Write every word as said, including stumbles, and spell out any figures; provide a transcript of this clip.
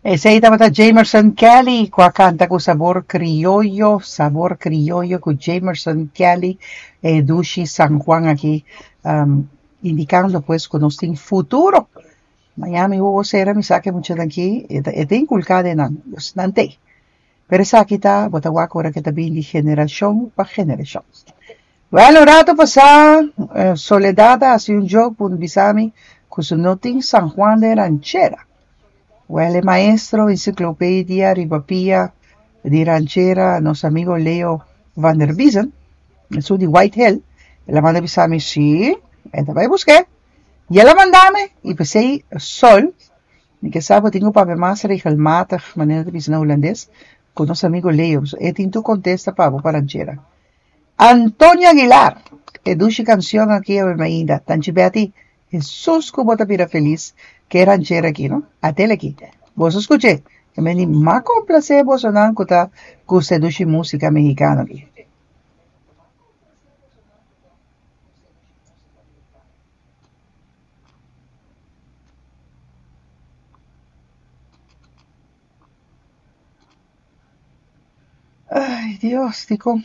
Esei tabata Jamerson Kelly ku a kanta ku Sabor Krioyo, Sabor Krioyo ku Jamerson Kelly, e dushi San Juan aki, um, indikando pues ku nos tin futuro. Miami Hugo sera mi sa ku e muchanan aki, e ta e ta inkulká den nan, dus nan t'ei. Pero esaki ta, bo ta wak ora ku ta bin di generashon pa generashon. Wèl, un ratu pasá, Soledad a hasi un joke por bisa mi ku su no tin San Juan den ranchera. Wèl, e maestro ensiklopedia riba pia di ranchera, nos amigo Leo van der Biezen, esun di White Hill, el a manda bisa mi, sí, e ta bai busk'é. I el a manda mi, i p'esei Sol, mi ke sa bo tin ku papia mas regelmatig, manera ta bisa na hulandes, ku nos amigo Leo. E tin tur kontesta pa bo pa ranchera. Antonio Aguilar, e dushi kanshon aki awe mainta. Tanchi Betty, Hesus ku bo ta bira felis ku e ranchera aki, no? Atel aki. Boso skuch'é. E meni m'a komplasé bosonan ku ta gusta e dushi músika mehikano aki. Ay, Dios, dikon?